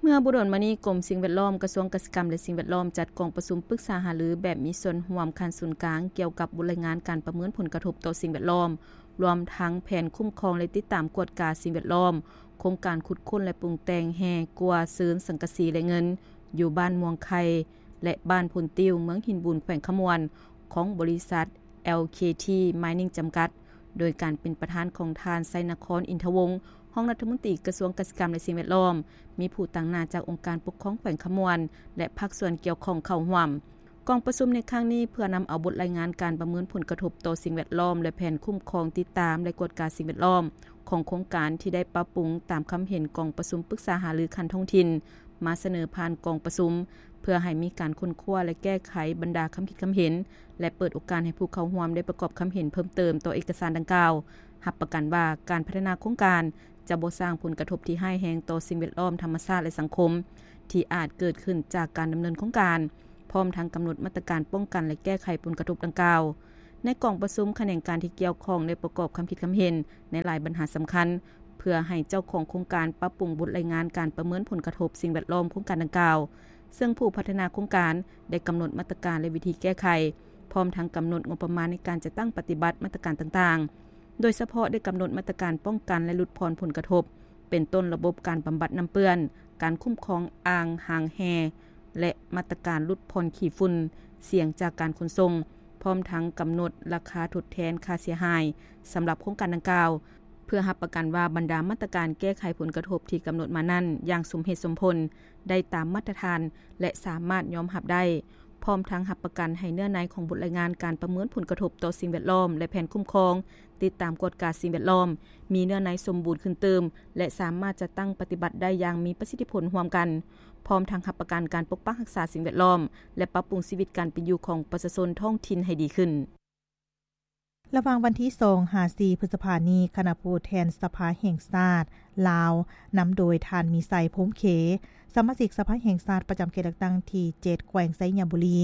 ເມື່ອບໍ່ດົນມານີ້, ກົມສິ່ງແວດລ້ອມ ກະຊວງກະສິກຳ ແລະ ສິ່ງແວດລ້ອມ ຈັດກອງປະຊຸມປຶກສາຫາລືແບບມີສ່ວນຮ່ວມຂັ້ນສູນກາງ ກ່ຽວກັບບົດລາຍງານການປະເມີນຜົນກະທົບຕໍ່ສິ່ງແວດລ້ອມ ລວມທັງແຜນຄຸ້ມຄອງ ແລະ ຕິດຕາມກວດກາສິ່ງແວດລ້ອມ ໂຄງການຂຸດຄົ້ນ ແລະ ປຸງແຕ່ງແຮ່ກົວເຊີນສັງກະສີ ແລະ ເງິນ ຢູ່ບ້ານມ່ວງໄຂ່ ແລະ ບ້ານໂພນຕິ້ວ ເມືອງຫີນບູນ ແຂວງຄຳມ່ວນ ຂອງບໍລິສັດ ແອລ ເຄ ທີ ມາຍນິງ ຈຳກັດ ໂດຍການເປັນປະທານຂອງທ່ານ ໄຊນະຄອນ ອິນທະວົງ ຮອງລັດຖະມົນຕີກະຊວງກະສິກຳ ແລະ ສິ່ງແວດລ້ອມ, ມີຜູ້ຕາງໜ້າຈາກອົງການປົກຄອງແຂວງຄຳມ່ວນ ແລະ ພາກສ່ວນກ່ຽວຂ້ອງເຂົ້າຮ່ວມ. ກອງປະຊຸມໃນຄັ້ງນີ້ເພື່ອນຳເອົາບົດລາຍງານການປະເມີນຜົນກະທົບຕໍ່ສິ່ງແວດລ້ອມ ແລະ ແຜນຄຸ້ມຄອງ, ຕິດຕາມ ແລະ ກວດກາສິ່ງແວດລ້ອມຂອງໂຄງການທີ່ໄດ້ປັບປຸງຕາມຄຳເຫັນກອງປະຊຸມປຶກສາຫາລືຂັ້ນທ້ອງຖິ່ນ ມາສະເໜີຜ່ານກອງປະຊຸມ ເພື່ອໃຫ້ມີການຄົ້ນຄວ້າ ແລະ ແກ້ໄຂບັນດາຄຳຄິດຄຳເຫັນ ແລະ ເປີດໂອກາດໃຫ້ຜູ້ເຂົ້າຮ່ວມໄດ້ປະກອບຄຳເຫັນເພີ່ມເຕີມຕໍ່ເອກະສານດັ່ງກ່າວ, ຮັບປະກັນວ່າການພັດທະນາໂຄງການຈະບໍ່ສ້າງຜົນກະທົບທີ່ຮ້າຍແຮງຕໍ່ສິ່ງແວດລ້ອມ, ທຳມະຊາດ ແລະ ສັງຄົມ ທີ່ອາດເກີດຂຶ້ນຈາກການດຳເນີນໂຄງການ, ພ້ອມທັງກຳນົດມາດຕະການປ້ອງກັນ ແລະ ແກ້ໄຂຜົນກະທົບດັ່ງກ່າວ. ໃນກອງປະຊຸມ, ຂະແໜງການທີ່ກ່ຽວຂ້ອງໄດ້ປະກອບຄຳຄິດຄຳເຫັນໃນຫຼາຍບັນຫາສຳຄັນ ເພື່ອໃຫ້ເຈົ້າຂອງໂຄງການປັບປຸງບົດລາຍງານການປະເມີນຜົນກະທົບສິ່ງແວດລ້ອມໂຄງການດັ່ງກ່າວ, ເຊິ່ງຜູ້ພັດທະນາໂຄງການໄດ້ກຳນົດມາດຕະການ ແລະ ວິທີແກ້ໄຂ, ພ້ອມທັງກຳນົດງົບປະມານໃນການຈັດຕັ້ງປະຕິບັດມາດຕະການຕ່າງໆ, ໂດຍສະເພາະໄດ້ກຳນົດມາດຕະການປ້ອງກັນ ແລະ ຫຼຸດຜ່ອນຜົນກະທົບ ເປັນຕົ້ນລະບົບການບຳບັດນ້ຳເປື້ອນ, ການຄຸ້ມຄອງອ່າງຮາງແຮ່ ແລະ ມາດຕະການຫຼຸດຜ່ອນຂີ້ຝຸ່ນ, ສຽງຈາກການຂົນສົ່ງ, ພ້ອມທັງກຳນົດລາຄາທົດແທນຄ່າເສຍຫາຍສຳລັບໂຄງການດັ່ງກ່າວ, ເພື່ອຮັບປະກັນວ່າບັນດາມາດຕະການແກ້ໄຂຜົນກະທົບທີ່ກຳນົດມານັ້ນຢ່າງສົມເຫດສົມຜົນ, ໄດ້ຕາມມາດຕະຖານ ແລະ ສາມາດຍອມຮັບໄດ້, ພ້ອມທັງຮັບປະກັນໃຫ້ເນື້ອໃນຂອງບົດລາຍງານການປະເມີນຜົນກະທົບຕໍ່ສິ່ງແວດລ້ອມ ແລະ ແຜນຄຸ້ມຄອງ, ຕິດຕາມກວດກາສິ່ງແວດລ້ອມ ມີເນື້ອໃນສົມບູນຂຶ້ນຕື່ມ ແລະ ສາມາດຈັດຕັ້ງປະຕິບັດໄດ້ຢ່າງມີປະສິດທິຜົນຮ່ວມກັນ, ພ້ອມທັງຮັບປະກັນການປົກປັກຮັກສາສິ່ງແວດລ້ອມ ແລະ ປັບປຸງຊີວິດການເປັນຢູ່ຂອງປະຊາຊົນທ້ອງຖິ່ນໃຫ້ດີຂຶ້ນ. ລະຫວ່າງວັນທີສອງຫາສີ່ ພຶດສະພານີ້, ຄະນະຜູ້ແທນສະພາແຫ່ງຊາດລາວ ນຳໂດຍທ່ານ ມີໄຊ ພົມເຂ, ສະມາຊິກສະພາແຫ່ງຊາດປະຈຳເຂດເລືອກຕັ້ງທີເຈັດ ແຂວງໄຊຍະບູລີ,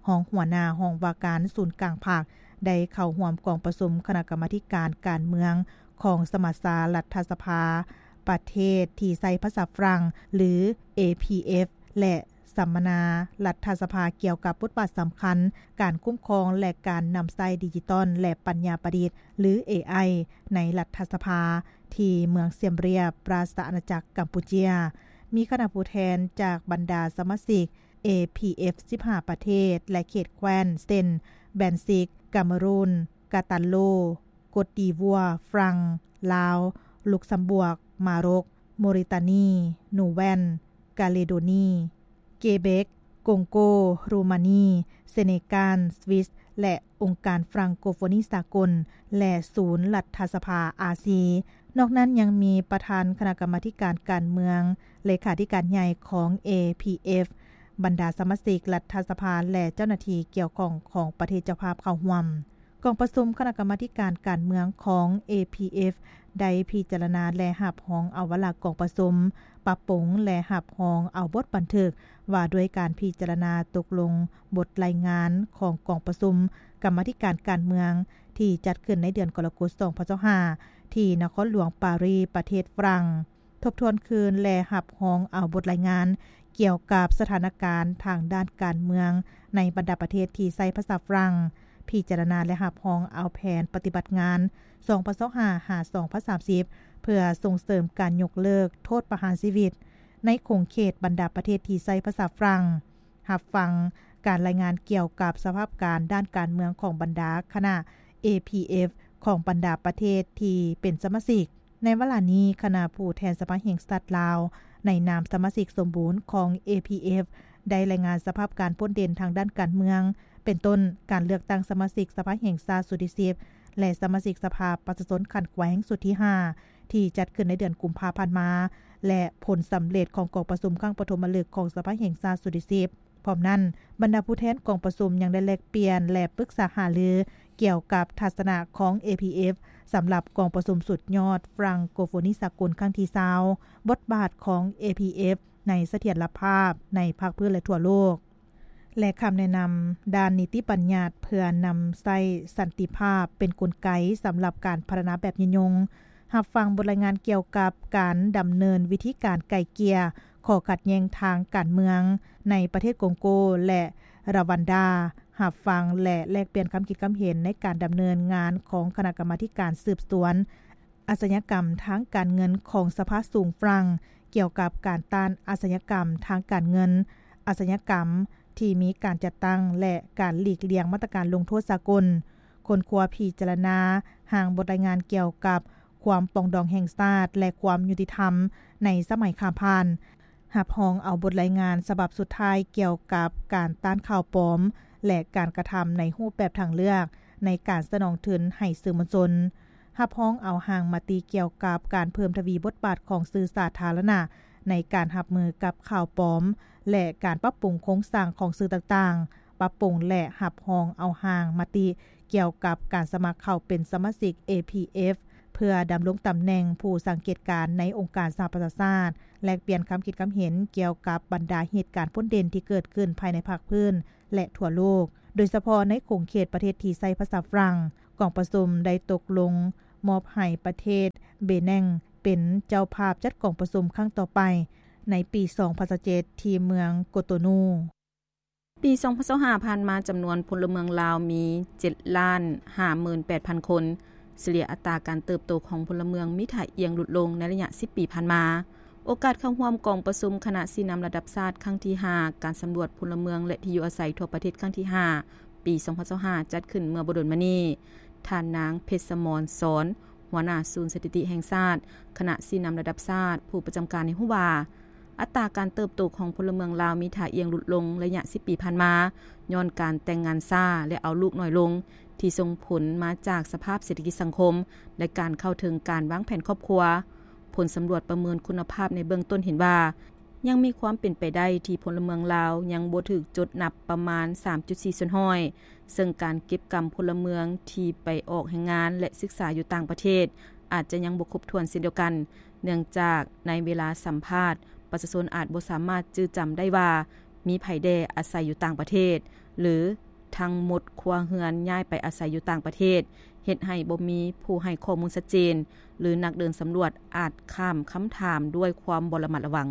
ຮອງຫົວໜ້າຫ້ອງວ່າການສູນກາງພັກ ໄດ້ເຂົ້າຮ່ວມກອງປະຊຸມຄະນະກຳມາທິການການເມືອງຂອງສະມັດຊາລັດຖະສະພາປະເທດທີ່ໃຊ້ພາສາຝຣັ່ງ ຫຼື ເອ ພີ ເອຟ ແລະ ສຳມະນາລັດຖະສະພາກ່ຽວກັບບົດບາດສຳຄັນການຄຸ້ມຄອງ ແລະ ການນຳໃຊ້ດິຈິຕອນ ແລະ ປັນຍາປະດິດ ຫຼື ເອໄອ ໃນລັດຖະສະພາ ທີ່ເມືອງຊຽມຣຽບ ລາຊະອານາຈັກກຳປູເຈຍ. ມີຄະນະຜູ້ແທນຈາກບັນດາສະມາຊິກ ເອ ພີ ເອຟ ສິບຫ້າປະເທດ ແລະ ເຂດແຄວ້ນ ເຊັ່ນ ແບນຊິກ, ກາເມຣູນ, ກາຕັນໂລ, ກົດດີວັວ, ຝຣັ່ງ, ລາວ, ລຸກຊຳບວກ, ມາຣົກ, ໂມຣິຕານີ, ນູແວນ, ກາເລໂດນີ, ເກເບັກ, ກົງໂກ, ໂຣມານີ, ເຊເນການ, ສວິສ ແລະ ອົງການຟຣັງໂກໂຟນີສາກົນ ແລະ ສູນລັດຖະສະພາອາຊີ. ນອກນັ້ນຍັງມີປະທານຄະນະກຳມາທິການການເມືອງ, ເລຂາທິການໃຫຍ່ຂອງ ເອພີເອັຟ, ບັນດາສະມາຊິກລັດຖະສະພາ ແລະ ເຈົ້າໜ້າທີ່ກ່ຽວຂ້ອງຂອງປະເທດເຈົ້າພາບເຂົ້າຮ່ວມ. ກອງປະຊຸມຄະນະກຳມາທິການການເມືອງຂອງ ເອພີເອັຟ ໄດ້ພິຈາລະນາ ແລະ ຮັບຮອງເອົາວາລະກອງປະຊຸມ, ປັບປຸງ ແລະ ຮັບຮອງເອົາບົດບັນທຶກວ່າດ້ວຍການພິຈາລະນາຕົກລົງບົດລາຍງານຂອງກອງປະຊຸມກຳມາທິການການເມືອງ ທີ່ຈັດຂຶ້ນໃນເດືອນກໍລະກົດ ສອງພັນຊາວຫ້າ ທີ່ນະຄອນຫຼວງປາຣີ ປະເທດຝຣັ່ງ. ທົບທວນຄືນ ແລະ ຮັບຮອງເອົາບົດລາຍງານກ່ຽວກັບສະຖານະການທາງດ້ານການເມືອງໃນບັນດາປະເທດທີ່ໃຊ້ພາສາຝຣັ່ງ, ພິຈາລະນາ ແລະ ຮັບຮອງເອົາແຜນປະຕິບັດງານ ສອງພັນຊາວຫ້າ ຫາ ສອງພັນສາມສິບ ເພື່ອສົ່ງເສີມການຍົກເລີກໂທດປະຫານຊີວິດໃນຂົງເຂດບັນດາປະເທດທີ່ໃຊ້ພາສາຝຣັ່ງ, ຮັບຟັງການລາຍງານກ່ຽວກັບສະພາບການດ້ານການເມືອງຂອງບັນດາຄະນະ ເອພີເອັຟ ຂອງບັນດາປະເທດທີ່ເປັນສະມາຊິກ. ໃນວາລະນີ້, ຄະນະຜູ້ແທນສະພາແຫ່ງຊາດລາວ ໃນນາມສະມາຊິກສົມບູນຂອງ ເອພີເອັຟ ໄດ້ລາຍງານສະພາບການໂດດເດັ່ນທາງດ້ານການເມືອງ, ເປັນຕົ້ນ ການເລືອກຕັ້ງສະມາຊິກສະພາແຫ່ງຊາດຊຸດທີສິບ ແລະ ສະມາຊິກສະພາປະຊາຊົນຂັ້ນແຂວງຊຸດທີຫ້າ ທີ່ຈັດຂຶ້ນໃນເດືອນກຸມພາຜ່ານມາ ແລະ ຜົນສຳເລັດຂອງກອງປະຊຸມຄັ້ງປະຖົມມະລຶກຂອງສະພາແຫ່ງຊາດຊຸດທີສິບ. ພ້ອມນັ້ນ, ບັນດາຜູ້ແທນກອງປະຊຸມຍັງໄດ້ແລກປ່ຽນ ແລະ ປຶກສາຫາລືກ່ຽວກັບທັດສະນະຂອງ ເອພີເອັຟ ສຳລັບກອງປະຊຸມສຸດຍອດຟຣັງໂກໂຟນີສາກົນຄັ້ງທີຊາວ, ບົດບາດຂອງ ເອພີເອັຟ ໃນສະຖຽນລະພາບໃນພາກພື້ນ ແລະ ທົ່ວໂລກ ແລະ ຄຳແນະນຳດ້ານນິຕິບັນຍັດເພື່ອນຳໃຊ້ສັນຕິພາບເປັນກົນໄກສຳລັບການພັດທະນາແບບຍືນຍົງ, ຮັບຟັງບົດລາຍງານກ່ຽວກັບການດຳເນີນວິທີການໄກ່ເກ່ຍຂໍ້ຂັດແຍ່ງທາງການເມືອງໃນປະເທດກົງໂກ ແລະ ຣາວັນດາ, ຮັບຟັງ ແລະ ແລກປ່ຽນຄຳຄິດຄຳເຫັນໃນການດຳເນີນງານຂອງຄະນະກຳມາທິການສືບສວນອາຊະຍາກຳທາງການເງິນຂອງສະພາສູງຝຣັ່ງ ກ່ຽວກັບການຕ້ານອາຊະຍາກຳທາງການເງິນ, ອາຊະຍາກຳທີ່ມີການຈັດຕັ້ງ ແລະ ການຫຼີກລ່ຽງມາດຕະການລົງໂທດສາກົນ, ຄົ້ນຄວ້າພິຈາລະນາຮ່າງບົດລາຍງານກ່ຽວກັບຄວາມປອງດອງແຫ່ງຊາດ ແລະ ຄວາມຍຸຕິທຳໃນສະໄໝຂ້າມຜ່ານ, ຮັບຮອງເອົາບົດລາຍງານສະບັບສຸດທ້າຍກ່ຽວກັບການຕ້ານຂ່າວປອມ ແລະ ການກະທຳໃນຮູບແບບທາງເລືອກໃນການສະໜອງທຶນໃຫ້ສື່ມວນຊົນ, ຮັບຮອງເອົາຮ່າງມະຕິກ່ຽວກັບການເພີ່ມທະວີບົດບາດຂອງສື່ສາທາລະນະໃນການຮັບມືກັບຂ່າວປອມ ແລະ ການປັບປຸງໂຄງສ້າງຂອງສື່ຕ່າງໆ, ປັບປຸງ ແລະ ຮັບຮອງເອົາຮ່າງມະຕິ ກ່ຽວກັບການສະໝັກເຂົ້າເປັນສະມາຊິກ ເອພີເອັຟ ເພື່ອດຳລົງຕຳແໜ່ງຜູ້ສັງເກດການໃນອົງການສະຫະປະຊາຊາດ, ແລກປ່ຽນຄຳຄິດຄຳເຫັນກ່ຽວກັບບັນດາເຫດການໂດດເດັ່ນທີ່ເກີດຂຶ້ນພາຍໃນພາກພື້ນ ແລະ ທົ່ວໂລກ, ໂດຍສະເພາະໃນຂົງເຂດປະເທດທີ່ໃຊ້ພາສາຝຣັ່ງ. ກອງປະຊຸມໄດ້ຕົກລົງມອບໃຫ້ປະເທດເບແນງເປັນເຈົ້າພາບຈັດກອງປະຊຸມຄັ້ງຕໍ່ໄປໃນປີສອງພັນຊາວເຈັດ ທີ່ເມືອງໂກໂຕນູ. ປີສອງພັນຊາວຫ້າຜ່ານມາ, ຈຳນວນພົນລະເມືອງລາວມີເຈັດລ້ານຫ້າໝື່ນແປດພັນຄົນ. ສະເລ່ຍອັດຕາການເຕີບໂຕຂອງພົນລະເມືອງມີທ່າອ່ຽງຫຼຸດລົງໃນໄລຍະສິບປີຜ່ານມາ. ໂອກາດເຂົ້າຮ່ວມກອງປະຊຸມຄະນະຊີ້ນຳລະດັບຊາດຄັ້ງທີຫ້າ ການສຳຫຼວດພົນລະເມືອງ ແລະ ທີ່ຢູ່ອາໄສທົ່ວປະເທດຄັ້ງທີຫ້າ ປີສອງພັນຊາວຫ້າ ຈັດຂຶ້ນເມື່ອບໍ່ດົນມານີ້, ທ່ານນາງ ເພັດສະໝອນ ສອນ ຫົວໜ້າສູນສະຖິຕິແຫ່ງຊາດ, ຄະນະຊີ້ນຳລະດັບຊາດ, ຜູ້ປະຈຳການໃຫ້ຮູ້ວ່າ, ອັດຕາການເຕີບໂຕຂອງພົນລະເມືອງລາວມີທ່າອ່ຽງຫຼຸດລົງໄລຍະສິບປີຜ່ານມາ, ຍ້ອນການແຕ່ງງານຊ້າ ແລະ ເອົາລູກໜ້ອຍລົງ, ທີ່ສົ່ງຜົນມາຈາກສະພາບເສດຖະກິດສັງຄົມ ແລະ ການເຂົ້າເຖິງການວາງແຜນຄອບຄົວ. ຜົນສຳຫຼວດປະເມີນຄຸນນະພາບໃນເບື້ອງຕົ້ນເຫັນວ່າ, ຍັງມີຄວາມເປັນໄປໄດ້ທີ່ພົນລະເມືອງລາວຍັງບໍ່ຖືກຈົດນັບປະມານສາມຈຸດສີ່ສ່ວນຮ້ອຍ, ເຊິ່ງການເກັບກຳພົນລະເມືອງທີ່ໄປອອກແຮງງານ ແລະ ສຶກສາຢູ່ຕ່າງປະເທດ ອາດຈະຍັງບໍ່ຄົບຖ້ວນເຊັ່ນດຽວກັນ, ເນື່ອງຈາກໃນເວລາສຳພາດ, ປະຊາຊົນອາດບໍ່ສາມາດຈື່ຈຳໄດ້ວ່າ ມີໃຜແດ່ອາໄສຢູ່ຕ່າງປະເທດ ຫຼື ທັງໝົດຄົວເຮືອນຍ້າຍໄປອາໄສຢູ່ຕ່າງປະເທດ, ເຮັດໃຫ້ບໍ່ມີຜູ້ໃຫ້ຂໍ້ມູນຊັດເຈນ ຫຼື ນັກເດີນສຳຫຼວດອາດຂ້າມຄຳຖາມດ້ວຍຄວາມບໍ່ລະມັດລະວັງ.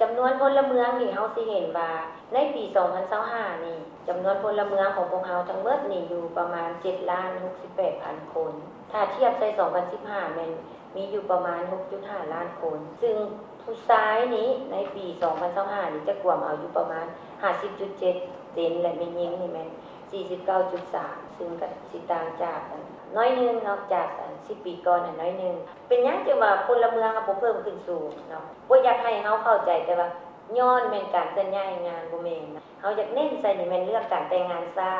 ຈຳນວນພົນລະເມືອງນີ້ ເຮົາຊິເຫັນວ່າໃນປີສອງພັນຊາວຫ້ານີ້ ຈຳນວນພົນລະເມືອງຂອງພວກເຮົາທັງໝົດນີ້ຢູ່ປະມານເຈັດລ້ານຫົກສິບແປດພັນຄົນ. ຖ້າທຽບໃສ່ສອງພັນສິບຫ້າແມ່ນມີຢູ່ປະມານຫົກຈຸດຫ້າລ້ານຄົນ, ຊຶ່ງຜູ້ຊາຍນີ້ໃນປີສອງພັນຊາວຫ້ານີ້ຈະກວມເອົາຢູ່ປະມານຫ້າສິບຈຸດເຈັດເປີເຊັນ ແລະ ແມ່ຍິງນີ້ແມ່ນ ສີ່ສິບເກົ້າຈຸດສາມ ຊຶ່ງກໍຊິຕ່າງຈາກໜ້ອຍໜຶ່ງເນາະ ຈາກສິບປີກ່ອນໜ້ອຍໜຶ່ງ. ເປັນຫຍັງຈຶ່ງວ່າພົນລະເມືອງເຮົາບໍ່ເພີ່ມຂຶ້ນສູງເນາະ? ບໍ່ຢາກໃຫ້ເຮົາເຂົ້າໃຈ ແຕ່ວ່າຍ້ອນແມ່ນການເຄື່ອນຍ້າຍແຮງງານ ບໍ່ແມ່ນ. ເຮົາຢາກເນັ້ນໃສ່ນີ້ແມ່ນເລື່ອງການແຕ່ງງານຊ້າ.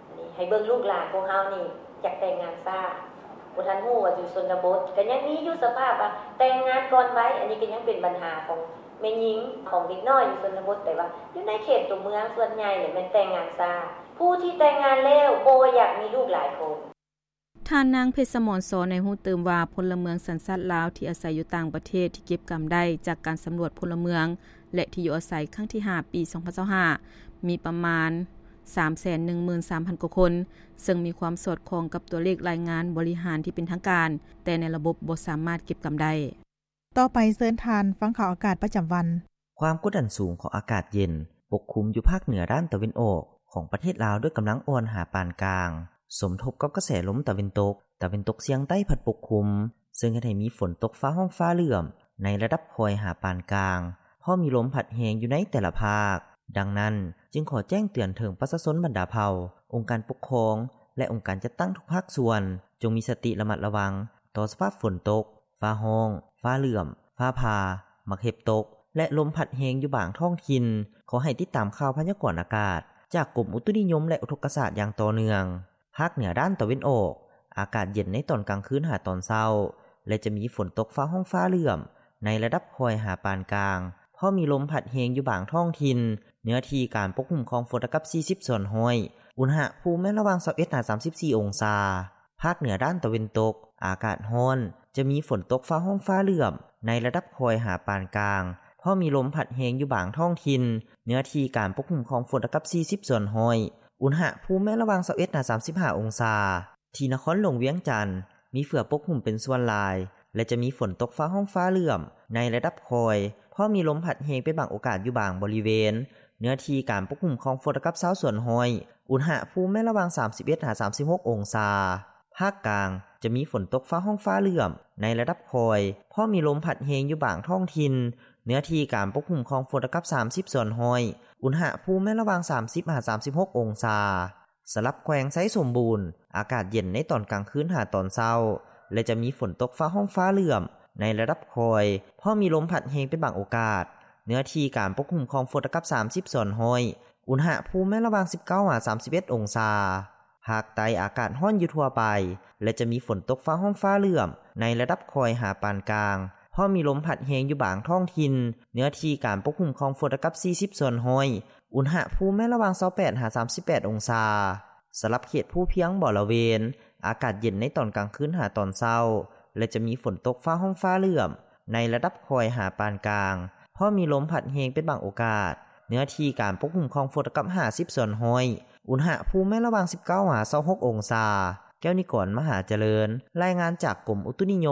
ອັນນີ້ໃຫ້ເບິ່ງລູກຫຼານພວກເຮົານີ້ຢາກແຕ່ງງານຊ້າ ບໍ່ທັນຮູ້ວ່າຢູ່ຊົນນະບົດ ກໍຍັງມີຢູ່ສະພາບວ່າແຕ່ງງານກ່ອນໄວ. ອັນນີ້ກໍຍັງເປັນບັນຫາຂອງແມ່ຍິງ ຂອງເດັກນ້ອຍຢູ່ຊົນນະບົດ ແຕ່ວ່າຢູ່ໃນເຂດຕົວເມືອງສ່ວນໃຫຍ່ແມ່ນແຕ່ງງານຊ້າ. ຜູ້ທີ່ແຕ່ງງານແລ້ວບໍ່ຢາກມີລູກຫຼາຍຄົນ. ທ່ານນາງ ເພັດສະໝອນ ຊໍ ໃຫ້ຮູ້ຕື່ມວ່າ ພົນລະເມືອງສັນຊາດລາວທີ່ອາໄສຢູ່ຕ່າງປະເທດທີ່ເກັບກຳໄດ້ຈາກການສຳຫຼວດພົນລະເມືອງ ແລະ ທີ່ຢູ່ອາໄສຄັ້ງທີຫ້າ ປີສອງພັນຊາວຫ້າ ມີປະມານ ສາມແສນໜຶ່ງໝື່ນສາມພັນກວ່າຄົນ ເຊິ່ງມີຄວາມສອດຄ່ອງກັບຕົວເລກລາຍງານບໍລິຫານທີ່ເປັນທາງການ ແຕ່ໃນລະບົບບໍ່ສາມາດເກັບກຳໄດ້. ຕໍ່ໄປເຊີນທ່ານຟັງຂ່າວອາກາດປະຈຳວັນ. ຄວາມກົດດັນສູງຂອງອາກາດເຢັນປົກຄຸມຢູ່ພາກເໜືອດ້ານຕາເວັນອອກຂອງປະເທດລາວດ້ວຍກຳລັງອ່ອນຫາປານກາງ ສົມທົບກັບກະແສລົມຕາເວັນຕົກ, ຕາເວັນຕົກສຽງໃຕ້ພັດປົກຄຸມ ເຊິ່ງເຮັດໃຫ້ມີຝົນຕົກຟ້າຮ້ອງຟ້າເຫຼື້ອມໃນລະດັບຄ່ອຍຫາປານກາງ ພໍມີລົມພັດແຮງຢູ່ໃນແຕ່ລະພາກ. ດັ່ງນັ້ນ, ຈຶ່ງຂໍແຈ້ງເຕືອນເຖິງປະຊາຊົນບັນດາເຜົ່າ, ອົງການປົກຄອງ ແລະ ອົງການຈັດຕັ້ງທຸກພາກສ່ວນ ຈົ່ງມີສະຕິລະມັດລະວັງຕໍ່ສະພາບຝົນຕົກ, ຟ້າຮ້ອງ, ຟ້າເຫຼື້ອມ, ຟ້າຜ່າ, ໝາກເຫັບຕົກ ແລະ ລົມພັດແຮງຢູ່ບາງທ້ອງຖິ່ນ. ຂໍໃຫ້ຕິດຕາມຂ່າວພະຍາກອນອາກາດຈາກກົມອຸຕຸນິຍົມ ແລະ ອຸທົກກະສາດຢ່າງຕໍ່ເນື່ອງ. ພາກເໜືອດ້ານຕາເວັນອອກ, ອາກາດເຢັນໃນຕອນກາງຄືນຫາຕອນເຊົ້າ ແລະ ຈະມີຝົນຕົກຟ້າຮ້ອງຟ້າເຫຼື້ອມໃນລະດັບຄ່ອຍຫາປານກາງ, ພໍມີລົມພັດແຮງຢູ່ບາງທ້ອງຖິ່ນ, ເນື້ອທີ່ການປົກຄຸມຂອງຝົນລະດັບສີ່ສິບສ່ວນຮ້ອຍ, ອຸນຫະພູມແມ່ນລະຫວ່າງຊາວເອັດຫາສາມສິບສີ່ອົງສາ. ພາກເໜືອດ້ານຕາເວັນຕົກ, ອາກາດຮ້ອນ, ຈະມີຝົນຕົກຟ້າຮ້ອງຟ້າເຫຼື້ອມໃນລະດັບຄ່ອຍຫາປານກາງ, ພໍມີລົມພັດແຮງຢູ່ບາງທ້ອງຖິ່ນ, ເນື້ອທີ່ການປົກຄຸມຂອງຝົນລະດັບສີ່ສິບສ່ວນຮ້ອຍ, ອຸນຫະພູມແມ່ນລະຫວ່າງຊາວເອັດຫາສາມສິບຫ້າອົງສາ. ທີ່ນະຄອນຫຼວງວຽງຈັນ ມີເຝືອປົກຫຸ້ມເປັນສ່ວນຫຼາຍ ແລະ ຈະມີຝົນຕົກຟ້າຮ້ອງຟ້າເຫຼື້ອມໃນລະດັບຄ່ອຍ, ພໍມີລົມພັດແຮງເປັນບາງໂອກາດຢູ່ບາງບໍລິເວນ, ເນື້ອທີ່ການປົກຄຸມຂອງຝົນລະດັບຊາວສ່ວນຮ້ອຍ, ອຸນຫະພູມແມ່ນລະຫວ່າງສາມສິບເອັດຫາສາມສິບຫົກອົງສາ. ພາກກາງ ຈະມີຝົນຕົກຟ້າຮ້ອງຟ້າເຫຼື້ອມໃນລະດັບຄ່ອຍ, ພໍມີລົມພັດແຮງຢູ່ບາງທ້ອງຖິ່ນ, ເນື້ອທີ່ການປົກຄຸມຂອງຝົນລະດັບສາມສິບສ່ວນຮ້ອຍ, ອຸນຫະພູມແມ່ນລະຫວ່າງສາມສິບຫາສາມສິບຫົກອົງສາ. ສຳລັບແຂວງໄຊສົມບູນ, ອາກາດເຢັນໃນຕອນກາງຄືນຫາຕອນເຊົ້າ ແລະ ຈະມີຝົນຕົກຟ້າຮ້ອງຟ້າເຫຼື້ອມໃນລະດັບຄ່ອຍ, ພໍມີລົມພັດແຮງເປັນບາງໂອກາດ, ເນື້ອທີ່ການປົກຄຸມຂອງຝົນລະດັບສາມສິບສ່ວນຮ້ອຍ, ອຸນຫະພູມແມ່ນລະຫວ່າງສິບເກົ້າຫາສາມສິບເອັດອົງສາ. ພາກໃຕ້ອາກາດຮ້ອນຢູ່ທົ່ວໄປ ແລະ ຈະມີຝົນຕົກຟ້າຮ້ອງຟ້າເຫຼື້ອມໃນລະດັບຄ່ອຍຫາປານກາງ, ພໍມີລົມພັດແຮງຢູ່ບາງທ້ອງຖິ່ນ, ເນື້ອທີ່ການປົກຄຸມຂອງຝົນລະດັບສີ່ສິບສ່ວນຮ້ອຍ, ອຸນຫະພູມແມ່ນລະຫວ່າງຊາວແປດຫາສາມສິບແປດອົງສາ. ສຳລັບເຂດພູພຽງບໍລະເວນ, ອາກາດເຢັນໃນຕອນກາງຄືນຫາຕອນເຊົ້າ ແລະ ຈະມີຝົນຕົກຟ້າຮ້ອງຟ້າເຫຼື້ອມໃນລະດັບຄ່ອຍຫາປານກາງ, ພໍມີລົມພັດແຮງເປັນບາງໂອກາດ, ເນື້ອທີ່ການປົກຄຸມຂອງຝົນລະດັບຫ້າສິບສ່ວນຮ້ອຍ, ອຸນຫະພູມແມ່ນລະຫວ່າງສິບເກົ້າຫາຊາວຫົກອົງສາ. ແກ້ວນິກອນ ມະຫາຈະເລີນ, ລາຍງານຈາກກົມອຸຕຸນິຍົມ.